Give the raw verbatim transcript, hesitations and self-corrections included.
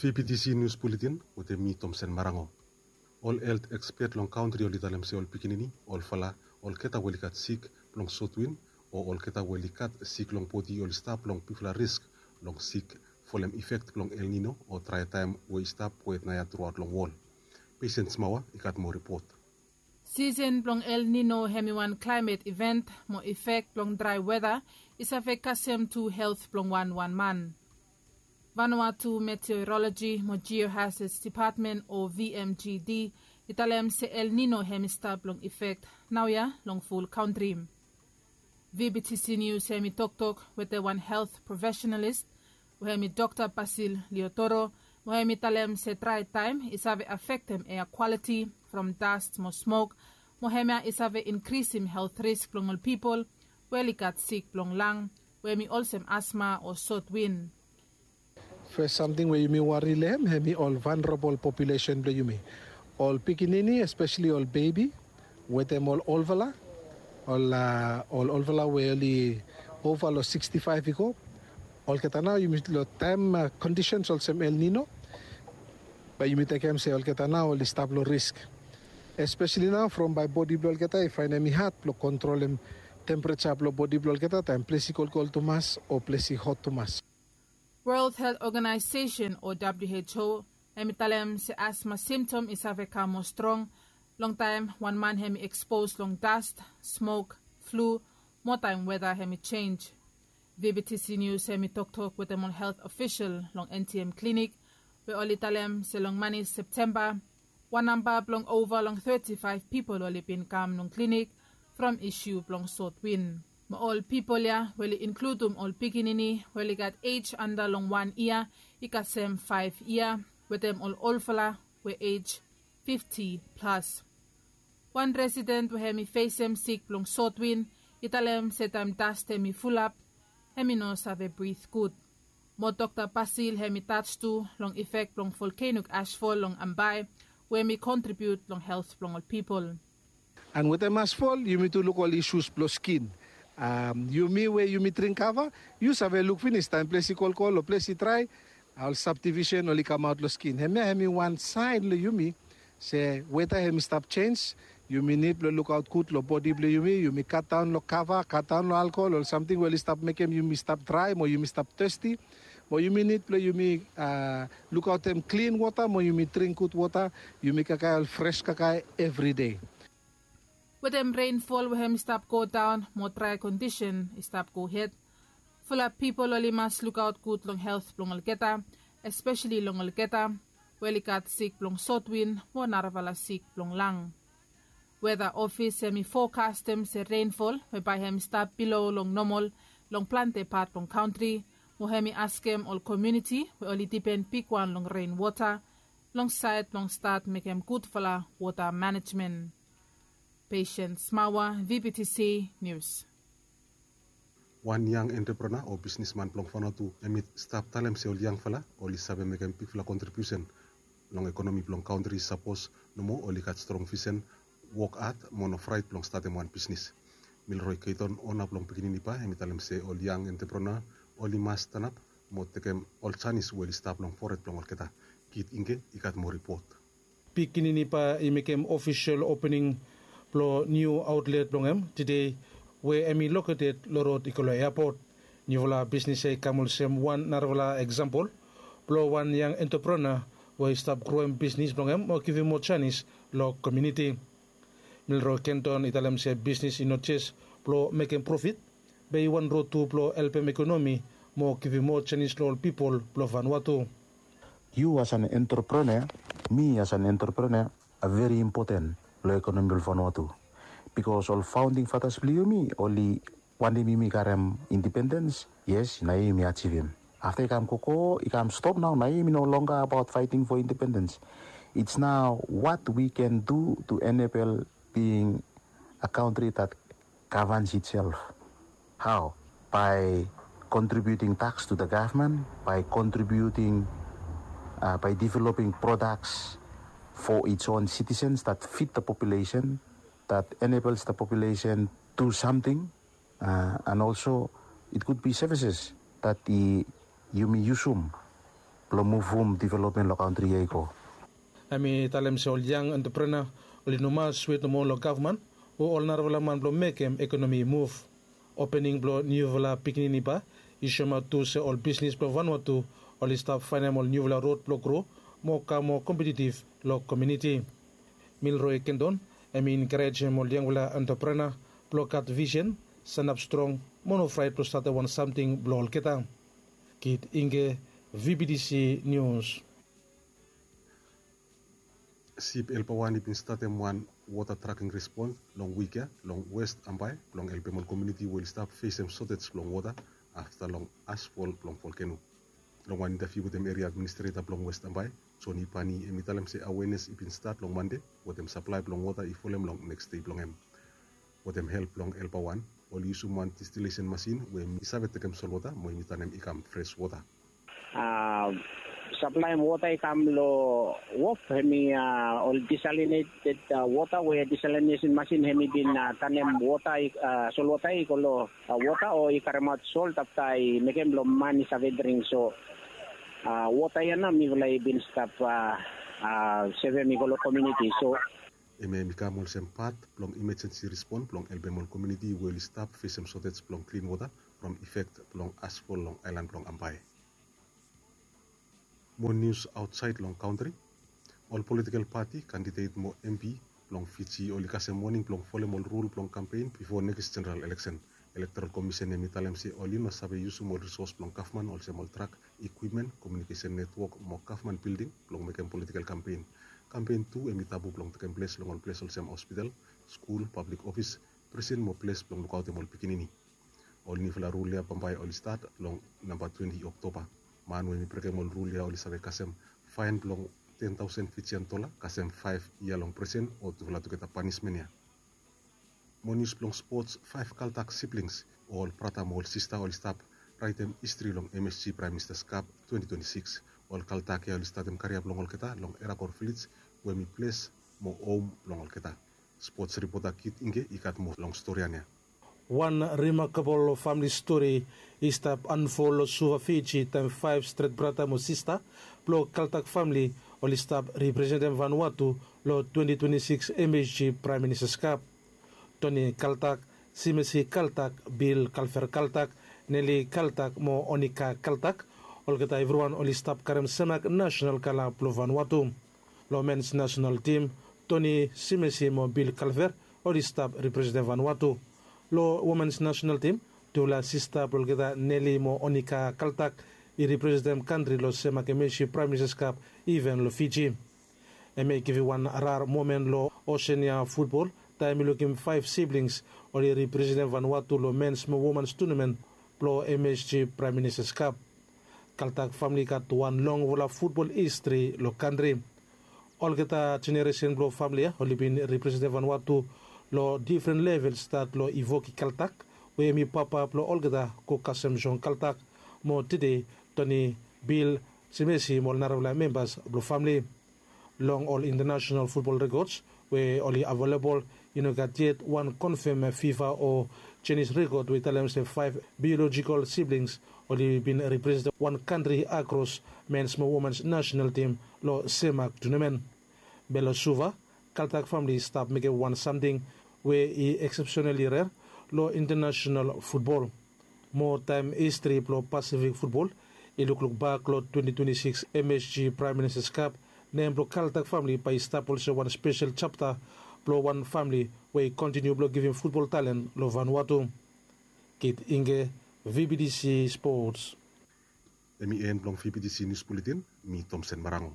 B B T C News Bulletin wetem mi Tomsen Marango. Ol helt ekspet long kantri oli talem se ol pikinini, ol fala, olgeta we oli gat sik blong sotwin o olgeta we oli gat sik long bodi oli stap long bigfala risk blong sik folem ifek blong El Nino o drae taem we i stap wet naoia truaot long wol. Pesen Smaoa i gat moa ripot. Sisen blong El Nino hem i wan klaemet iven mo ifek blong drae weta i save kasem tu helt blong wanwan man. Vanuatu Meteoroloji mo Geohazards Depatmen o V M G D i talem se El Nino hem i stap long ifek naoia long ful kantri. V B T C News hem i toktok wetem wan helt profesenalis we hem i Dokta Basil Liotoro, mo hem i talem se drae taem i save afektem ea kwaliti from dast mo smok, mo hemia i save inkrisim helt risk blong ol pipol we oli gat sik blong lang, we hem i olsem asma o sotwin. Fes samting we yumi wari long hem, hem i ol vanarabol populesen blong yumi. Ol pikinini, espeseli ol bebi, wetem ol olfala, ol a ol olfala we oli ova long sikstifaef i go. Olgeta nao yumi long taem kondisens olsem El Nino, bae yumi tekem se olgeta nao oli stap long risk. Espeseli nao from bae bodi blong olgeta i faenem i had blong kontrolem tempereja blong bodi blong olgeta taem ples i kolkol tumas o ples i hot tumas. World Health Organization o W H O hem i talem se asma simtom i save kam moa strong longtaem wan man hem i ekspos long dast, smok, flu, mo taem weta hem i jenj. V B T C News hem i toktok wetem ol helt ofisol long N T M klinik, we oli talem se long mane Septemba, wan namba blong ova long tetifaef pipol oli bin kam long klinik from isu blong sotwin. Mo ol pipol ya we oli inkludum ol pikinini we oli gat ej anda long wan yia i kasem faef yia, wetem ol olfala we ej fifti plas. Wan residen we hem i fesem sik blong sotwin i talem se taem dast hem i fulap, hem i no save brit gud. Mo Dokta Basil hem i tach tu long ifek blong volkeno ashfol long Ambae, we hem i kontribiut long helt blong ol pipol. And wetem ashfol yumi tu luk ol isus blong skin. Yumi we yumi dring kava, yu save luk finis taem ples i kolkol o ples i drae, ol sabdivisen oli kamaot long skin. Hemia hem i wan saen long yumi se weta hem i stap jenj. Yumi nid blong lukaot gud long bodi blong yumi. Yumi katdaon long kava, katdaon long alkohol, ol samting we oli stap mekem yumi stap drae mo yumi stap testi. Mo yumi nid blong yumi lukaotem klin wota mo yumi dring gud wota. Yumi kakae ol fres kakae evridei. Wetem renfol we hem i stap godaon mo drae kondisen i stap gohed, fulap pipol oli mas lukaot gud long helt blong olgeta, espeseli long olgeta we oli gat sik blong sotwin mo narafala sik blong lang. Weta ofis hem i fokastem se renfol we bae hem i stap bilo long nomol long plante pat blong kantri, mo hem i askem ol komuniti we oli dipen bigwan long renwota long saed blong stat mekem gudfala wota manejmen. Pesen Smaoa, V B T C News. Wan yang entreprenua o bisnisman blong Vanuatu hem i stap talem se ol yangfala oli save mekem bigfala kontribiusen long ekonomi blong kantri sapos nomo oli gat strong visen, wok had mo no fraet blong statem wan bisnis. Milroy Keiton, ona blong Pikinini Ba, hem i talem se ol yang entreprenua oli mas stanap mo tekem ol janis we oli stap long fored blong olgeta. Kit Ingke i gat moa ripot. Pikinini Ba i mekem ofisol opening blong niu aotlet blong hem tede, we hem i loketed long rod i go long eapot. Niufala bisnis ya i kam olsem wan narafala eksampol blong wan yang entreprenua we i stap groem bisnis blong hem mo givim moa janis long komuniti. Milroy Kenton i talem se bisnis i no jes blong mekem profit, be i wan rod tu blong helpem ekonomi mo givim moa janis long ol pipol blong Vanuatu. Yu as an entreprenua, mi as an entreprenua, a veri impoten long ekonomi blong Vanuatu. Bikos ol faonding fatas blong yumi oli wantem yumi karem indipendens, yes, nao yumi ajivim. Afta i kam gogo, i kam stop nao, nao yumi no longa abaot faeting fo indipendens. It's now what we can do to enable being a kantri that governs itself. Hao? By contributing tax to the government, by contributing, by developing products for its own citizens that fit the population, that enables the population do something, and also it could be services that yumi yusum long muvum developmen long kantri ya i go. Hem i talem se ol yang entreprenor oli no mas wet nomo long gavman o ol narafala man blong mekem ekonomi i muv. Opening blong niufala pikinini ba i soemaot tu se ol bisnis blong vanua tu oli stap faenem ol niufala rod blong gro mo kam moa kompetitiv long komiuniti. Milroe Kendon hem i enkarejem ol yangfala entreprenor blong gat visen, sanap strong mo no fraet blong statem wan samting blong olgeta. Kit Inge, VBTC Nius. Sip Helper wan i bin statem wan wota traking respons long wik ya long West Ambae blong helpem ol komiuniti we oli stap fesem sotej blong wota afta long asfol blong volkeno. Long wan intaviu wetem eria administreta blong West Ambae, Joni Pani hem i talem se awenes i bin stat long Mande wetem saplae blong wota i folem long neks dei blong hem. Wetem help blong Helper wan oli yusum wan distilesen masin we hem i save tekem solwota mo hem i tanem i kam fres wota. Saplaem wota i kam long wok hem i ol disalineted wota we disalinesin masin hem i bin tanem wota, solwota i go long wota o i karemaot sol afta i mekem blong man i save dring. So wota ya nao mifala i bin stap sevem i go long komiuniti. So hem ya hem i kam olsem pat blong imajensi respon blong helpem ol komiuniti we oli stap fesem sotej blong klin wota from ifek blong asfol long aelan blong Ambae. Mo nius aotsaed long kantri. Ol politikel pati kandidet mo MP blong Fiji oli kasem woning blong folem ol rul blong kampen bifo nekis jeneral eleksen. Elektoral Komisen hem i talem se oli no save yusum ol risos blong gavman olsem ol trak, ikwipmen, komiunikesen netwok mo gavman bilding blong mekem politikel kampen. Kampen tu hem i tabu blong tekem ples long ol ples olsem hospital, skul, pablik ofis, prisen mo ples blong lukaotem ol pikinini. Ol niufala rul ya bambae oli stat long namba twenti Oktoba. Man we hem i brekem ol rul ya oli save kasem faen blong ten taosen Fijian dola kasem faef yia long prisen o tufala tugeta panismen ya. Mo nius blong spots, faef Kaltak siblings o ol brata mo ol sista oli stap raetem histri long MSG Praem Ministas Kap twenti twenti sikis. Ol Kaltak ya oli statem karia blong olgeta long Erakor Vilej we hem i ples mo hom blong olgeta. Spots ripota Kit Inge i gat moa long storian ya. Wan rimakabol famili stori i stap anfol long Suva, Fiji taem faef stret brata mo sista blong Kaltak famili oli stap representem Vanuatu long twenti twenti sikis MSG Praem Ministas Kap. Toni Kaltak, Simesi Kaltak, Bil Kalver Kaltak, Neli Kaltak mo Onika Kaltak, olgeta evriwan oli stap karem semak nasenal kala blong Vanuatu. Long mens nasenal tim, Toni Simesi mo Bil Kalver oli stap representem Vanuatu. Long womens nasenal tim, tufala sista blong olgeta Neli mo Onika Kaltak i representem kantri long semak MSG Praem Ministas Kap iven long Fiji. Hemia i givim wan rar momen long Oseania futbol taem i lukim faef siblings oli representem Vanuatu long mens mo womens tunamen blong MSG Praem Ministas Kap. Kaltak famili i gat wan longfala futbol histri long kantri. Olgeta jeneresen blong famili ya oli bin representem Vanuatu long difren level, stat long Ivoki Kaltak we hem i papa blong olgeta go kasem John Kaltak mo tede Toni, Bil, Simesi mo ol narafala membas blong famili. Long ol intanasenal futbol rekods we oli avelebol, i no gat yet wan konfem fifa o Chinese rekod we i talem se faef biolojikal siblings oli bin representem wan kantri akros mens mo womens nasenal tim long semak tunamen. Be long Suva, Kaltak famili i stap mekem wan samting we i eksepsenali rer long intanasenal futbol. Mo taem histri blong Pasifik futbol i lukluk bak long twenti twenti sikis MSG Praem Ministas Kap, nem blong Kaltak famili bae i stap olsem wan spesel japta blong wan famili we i kontiniu blong givim futbol talen long Vanuatu. Kit Inge, VBTC Spots. Hem i en blong VBTC Nius Buletin. Mi Tomsen Marango.